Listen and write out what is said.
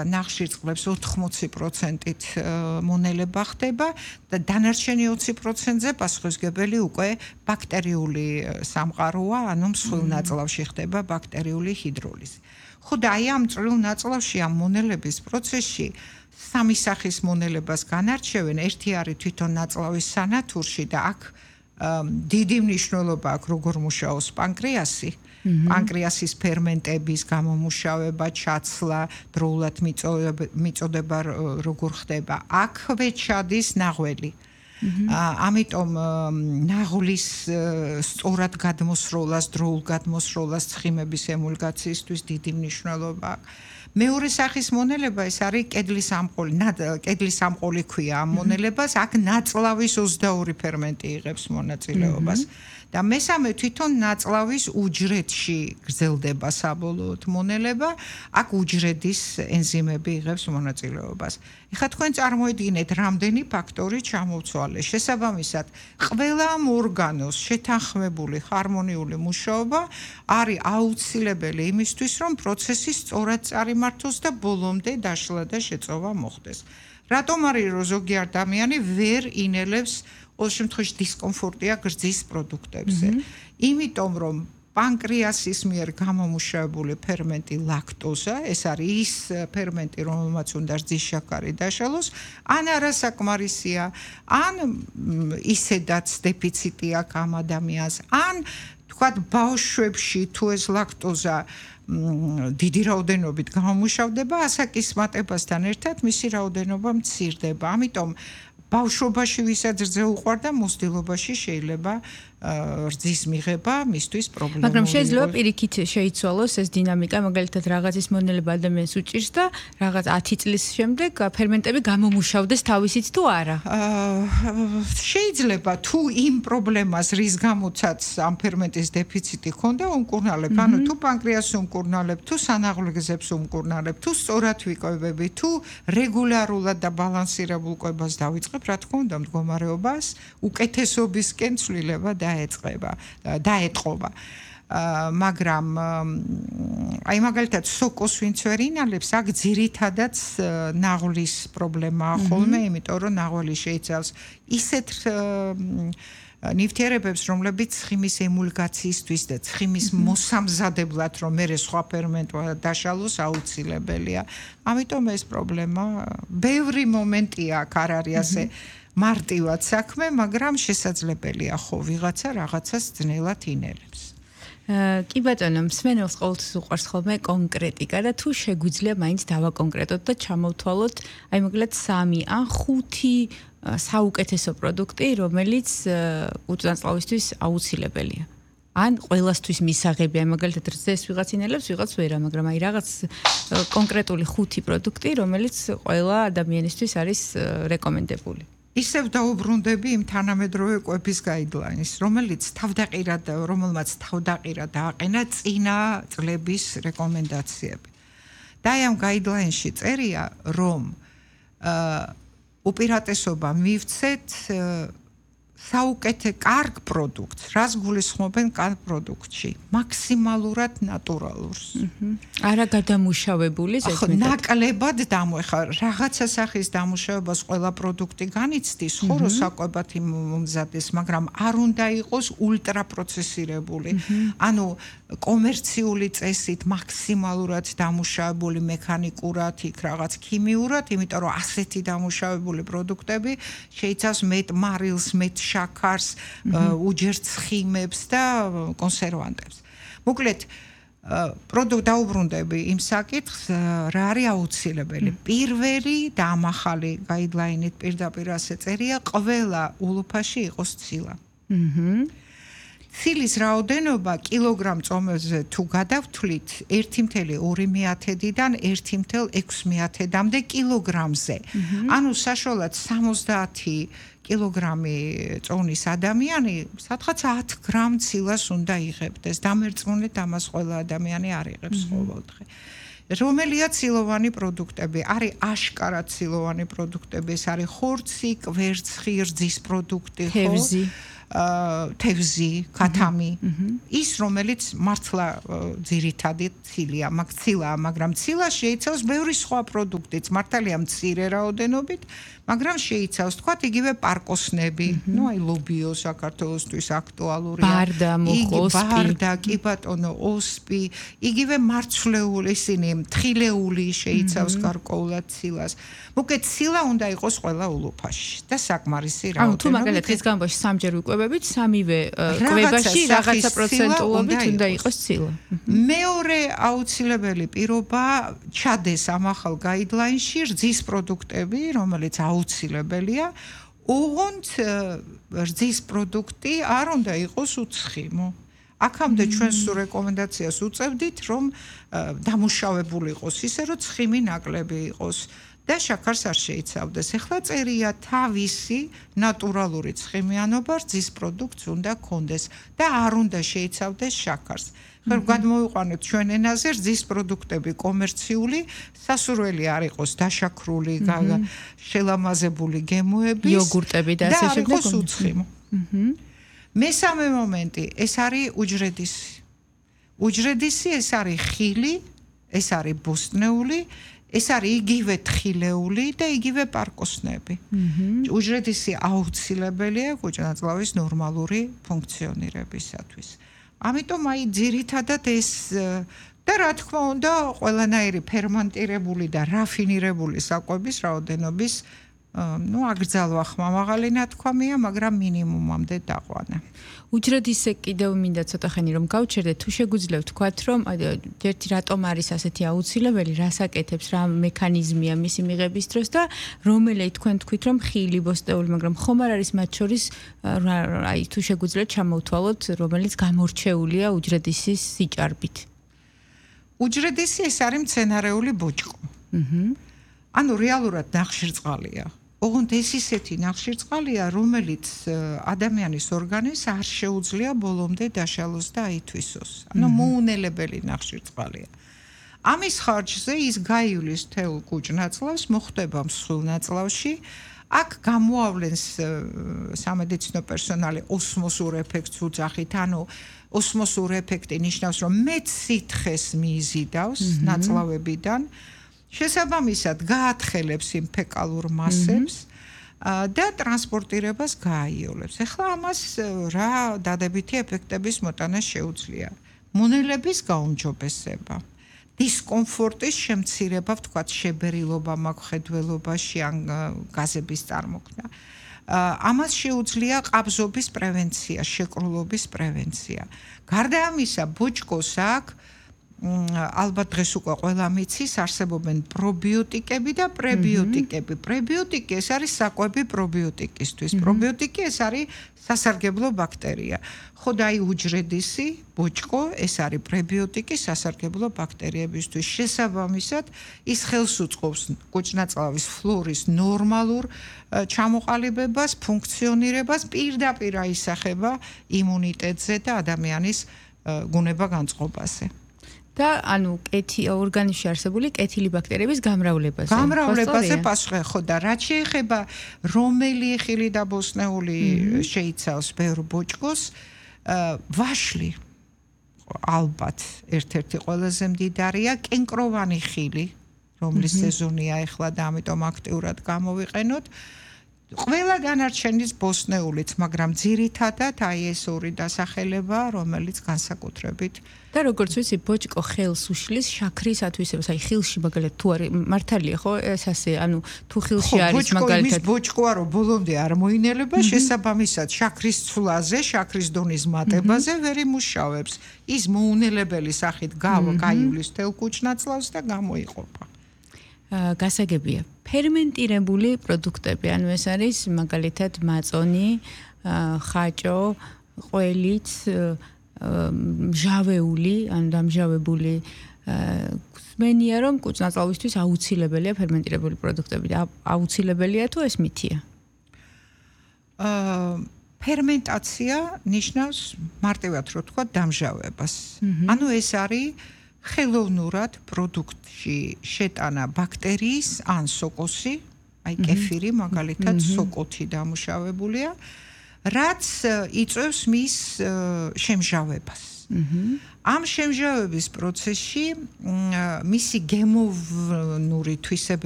ნახშირწყლებს 80%-ით მონელება ხდება და დანარჩენი 20%-ზე პასუხისმგებელი უკვე ბაქტერიული სამყაროა, ანუ მსხვილ ნაწლავში ხდება ბაქტერიული ჰიდროლიზი. ხო და აი ამ წვრილ ნაწლავში ამ მონელების პროცესში სამი სახის მონელებას განარჩევენ, ერთი არის თვითონ ნაწლავის სანათურში და აქ დიდი მნიშვნელობა აქვს როგორ მუშაობს პანკრეასი. პანკრეასის ფერმენტების გამომუშავება, ჩაცლა, დროულად მიწოდება როგორ ხდება. აქვე ჩადის ნაღველი. ამიტომ ნაღლის სწორად გადმოსროლას, დროულ გადმოსროლას ცხიმების ემულგაციისთვის დიდი მნიშვნელობა აქვს. მეორე სახის მონელება ეს არის კედლის ამყოლი, კედლის ამყოლი ქვია ამ მონელებას, აქ ნაწლავის 22 ფერმენტი იღებს მონაწილეობას. და მესამე თვითონ ნაწლავის უჯრედში გრძელდება საბოლოოდ მონელება, აქ უჯრედის ენზიმები იღებს მონაწილეობას. ეხლა თქვენ წარმოედგინეთ, რამდენი ფაქტორი ჩამოვცვალე. შესაბამისად, ყველა ამ ორგანოს შეთანხმებული ჰარმონიული მუშაობა არის აუცილებელი იმისთვის, რომ პროცესი სწორად წარიმართოს და ბოლომდე დაშლა და შეწოვა მოხდეს. რატომ არის რომ ზოგი ადამიანი ვერ ინელებს ყოველ შემთხვევაში დისკომფორტია გრძის პროდუქტებზე. იმიტომ რომ პანკრეასის მიერ გამომუშავებული ფერმენტი ლაქტოზა, ეს არის ის ფერმენტი, რომელმაც უნდა რძის შაქარი დაშალოს, ან არასაკმარისია, ან ისედაც დეფიციტი აქვს ამ ადამიანს, ან თქვათ ბავშვებში თუ ეს ლაქტოზა დიდი რაოდენობით გამომუშავდება, ასაკის მატებასთან ერთად მისი რაოდენობა მცირდება. ამიტომ ბავშვობაში ვისაც რძე უყვარდა, მოსდილობაში შეიძლება რძის მიღება მისთვის პრობლემური. მაგრამ შეიძლება პირიქით შეიცვალოს ეს დინამიკა, მაგალითად რაღაცის მონელება ადამიანს უჭირს და რაღაც 10 წლის შემდეგ ფერმენტები გამომუშავდეს თავისით თუ არა? შეიძლება თუ იმ პრობლემას რის გამოცაც ამ ფერმენტის დეფიციტი ქონდა უმკურნალებ, ანუ თუ პანკრეასს უმკურნალებ, თუ სანაღლეგზებს უმკურნალებ, თუ სწორად ვიკვებები, თუ რეგულარულად და ბალანსირებულ კვებას დავიწყებ, რა თქმა უნდა, მდგომარეობას უკეთესობისკენ ცვლილება დაეტყობა. მაგრამ აი მაგალითად სოკოს ვინც ვერ ინალებს, აქ ძირითადად ნაღლის პრობლემაა ხოლმე, იმიტომ რომ ნაღველი შეიცავს ისეთ ნივთიერებებს, რომლებიც ცხიმის ემულგაციისთვის და ცხიმის მოსამზადებლად, რომ მერე სხვა ფერმენტვა დაშალოს აუცილებელია. ამიტომ ეს პრობლემა ბევრი მომენტია აქ არ არის ასე მარტივად საქმე, მაგრამ შესაძლებელია ხო ვიღაცა რაღაცას ძნელად ინელებს. კი ბატონო, მსმენელს ყოველთვის უყვარს ხოლმე კონკრეტიკა და თუ შეგვიძლია მაინც დავაკონკრეტოთ და ჩამოვთვალოთ, აი მოკლედ 3 ან 5 საუკეთესო პროდუქტი, რომელიც უწნაწლავისთვის აუცილებელია. ან ყველასთვის მისაღებია, მაგალითად რძეს ვიღაც ინელებს, ვიღაც ვერა, მაგრამ აი რაღაც კონკრეტული 5 პროდუქტი, რომელიც ყველა ადამიანისთვის არის რეკომენდებული. ისევ დაუბრუნდები იმ თანამედროვე კვების გაიდლაინს, რომელმაც თავდაყირა დააყენა წინა წლების რეკომენდაციები. და აი ამ გაიდლაინში წერია, რომ უპირატესობა მივცეთ საუკეთესო კარგ პროდუქტს, რას გულისხმობენ კარგ პროდუქტში, მაქსიმალურად ნატურალურს. არა გადამუშავებული ზედმეტად. ნაკლებად დამოეხა რაღაცა სახის დამუშავებას ყველა პროდუქტი განიცდის, ხო რომ საკვებად მომზადეს, მაგრამ არ უნდა იყოს ულტრაპროცესირებული. ანუ კომერციული წესით მაქსიმალურად დამუშავებული მექანიკურად, იქ რაღაც ქიმიურად, იმიტომ რომ ასეთი დამუშავებული პროდუქტები შეიცავს მეტ მარილს, მეტ შაქარს, უჯერ ცხიმებს და კონსერვანტებს. მოკლედ, დაუბრუნდები იმ საკითხს, რა არის აუცილებელი. პირველი და ამ ახალი გაიდლაინით პირდაპირ ასე წერია, ყველა ულუფაში იყოს ცილა. ცილის რაოდენობა კილოგრამ წომებზე თუ გადავთვლით 1,2-დან 1,6-მდე კილოგრამზე. ანუ საშუალოდ 70 კილოგრამი წონის ადამიანი სადღაც 10 გრამ ცილას უნდა იღებდეს. დამერწმუნეთ, ამას ყველა ადამიანი არ იღებს ყოველდღე. რომელია ცილოვანი პროდუქტები? არის აშკარად ცილოვანი პროდუქტები, ეს არის ხორცი, კვერცხი, რძის პროდუქტი, თევზი. თევზი, ქათამი, ის რომელიც მართლა ძირითადად ცილია, მაგრამ ცილა შეიცავს ბევრი სხვა პროდუქტიც, მართალია მცირე რაოდენობით, მაგრამ შეიცავს თქვათ იგივე პარკოსნები, აი ლობიო საქართველოსთვის აქტუალურია. ბარდა, მოსპი. ბარდა, კი ბატონო, ოსპი, იგივე მარცვლეული ისინი, თხილეული შეიცავს გარკვეულად ცილას. მოკლედ ცილა უნდა იყოს ყველა ულუფაში და საკმარისი რაოდენობით. თუ მაგალითად ის გამბოში სამჯერ ვიკვებებით, სამივე კვებაში რაღაცა პროცენტულობით უნდა იყოს ცილა. მეორე აუცილებელი პირობა ჩადეს ამ ახალ გაიდლაინში რძის პროდუქტები, რომელიც აუცილებელია, ოღონდ რძის პროდუქტი არ უნდა იყოს უცხიმო. აქამდე ჩვენ სულ რეკომენდაციას უწევდით, რომ დამუშავებული იყოს ისე, რომ ცხიმი ნაკლები იყოს და შაქარს არ შეიცავდეს. ეხლა წერია თავისი ნატურალური ცხიმიანობა რძის პროდუქტს უნდა ქონდეს და არ უნდა შეიცავდეს შაქარს. ხერ გადმოვიყვანოთ ჩვენ ენაზე რძის პროდუქტები კომერციული, სასურველი არ იყოს დაშაქრული, შელამაზებული გემოების, იოგურტები და ასე შემდეგ. და არ იყოს უცხიმო. მესამე მომენტი, ეს არის უჯრედისი. უჯრედისი ეს არის ხილი, ეს არის ბოსტნეული, ეს არის იგივე თხილეული და იგივე პარკოსნები. უჯრედისი აუცილებელია კუჭნაწლავის ნორმალური ფუნქციონირებისათვის. ამიტომ აი ძირითადად ეს და რა თქმა უნდა, ყველანაირი ფერმენტირებული და რაფინირებული საკვების რაოდენობის აკრძალვა ხმამაღალი ნათქვამია, მაგრამ მინიმუმამდე დაყვანა. უჯრედისე კიდევ მინდა ცოტა ხანი რომ გავჩერდეთ, თუ შეგვიძლია ვთქვათ, რომ ერთი რატომ არის ასეთი აუცილებელი, რას აკეთებს, რა მექანიზმია მისი მიღების დროს და რომელი თქვენ თქვით, რომ ხილი, ბოსტეული, მაგრამ ხომ არ არის მათ შორის აი თუ შეგვიძლია ჩამოვთვალოთ, რომელიც გამორჩეულია უჯრედისის სიჭარბით. უჯრედისი ეს არის მცენარეული ბოჭკო. ანუ რეალურად ნახშირწყალია. ოღონდ ეს ისეთი ნახშირწყალია, რომელიც ადამიანის ორგანიზმს არ შეუძლია ბოლომდე დაშალოს და აითვისოს. ანუ მოუნელებელი ნახშირწყალია. ამის ხარჯზე ის გაივლის თელ კუჭნაწლავს, მოხვდება მსხვილ ნაწლავში. აქ გამოავლენს სამედიცინო პერსონალი ოსმოსურ ეფექტს უძახით, ანუ ოსმოსურ ეფექტი ნიშნავს, რომ მეტ სითხეს მიიზიდავს ნაწლავებიდან. შესაბამისად გაათხელებს იმ ფეკალურ მასებს და ტრანსპორტირებას გააიოლებს. ეხლა ამას რა დადებითი ეფექტების მოტანა შეუძლია? მონელების გაუმჯობესება, დისკომფორტის შემცირება, ვთქვათ, შებერილობა მაქვხედველობაში ან გაზების წარმოქმნა. ამას შეუძლია ყაბზობის პრევენცია, შეკრულობის პრევენცია. გარდა ამისა, ბოჭკოს აქ ალბათ დღეს უკვე ყველა მიცის, არსებობენ პრობიოტიკები და პრებიოტიკები. პრებიოტიკი ეს არის საკვები პრობიოტიკისთვის. პრობიოტიკი ეს არის სასარგებლო ბაქტერია. ხო და აი უჯრედისი, ბოჭკო, ეს არის პრებიოტიკი სასარგებლო ბაქტერიებისთვის. შესაბამისად, ის ხელს უწყობს კუჭნაწლავის ფლორის ნორმალურ ჩამოყალიბებას, ფუნქციონირებას, პირდაპირ აისახება იმუნიტეტზე და ადამიანის გუნება განწყობაზე. და ანუ ორგანიზმში არსებული კეთილი ბაქტერიების გამრავლებაზე. გამრავლებაზე პასუხი ხო და რაც შეეხება რომელი ხილი და ბოსტნეული შეიცავს ბევრ ბოჭკოს, ვაშლი ალბათ ერთ-ერთი ყველაზე მდიდარია, კენკროვანი ხილი, რომლის სეზონია ეხლა და ამიტომ აქტიურად გამოვიყენოთ. ყველა დანარჩენის ბოსტნეულიც, მაგრამ ძირითადად აი ეს ორი დასახელება, რომელიც განსაკუთრებით და როგორც ვიცი, ბოჭკო ხელს უშლის შაქრის ათვისებას, აი ხილში მაგალითად თუ არის მართალია ხო ეს ასე, ანუ თუ ხილში არის მაგალითად ბოჭკოა რომ ბოლომდე არ მოინელება, შესაბამისად შაქრის ცვლაზე, შაქრის დონის მატებაზე ვერ იმუშავებს. ის მოუნელებელი სახით გაივლის თელ კუჭნაწლავს და გამოიყოფა. გასაგებია. ფერმენტირებული პროდუქტები, ანუ ეს არის მაგალითად მაწონი, ხაჭო, ყველიც, მჟავეული, ანუ დამჟავებული ხსმენია, რომ კუჭნაწლავისთვის აუცილებელია ფერმენტირებული პროდუქტები და აუცილებელია თუ ეს მითია? ფერმენტაცია ნიშნავს მარტივად რო თქვა დამჟავებას. ანუ ეს არის ხელოვნურად პროდუქტში შეტანა ბაქტერიის ან სოკოსი, აი კეფირი მაგალითად სოკოთი დამუშავებულია რაც იწვევს მის შემჟავებას. ამ შემჟავების პროცესში მისი გემოვნური თვისებები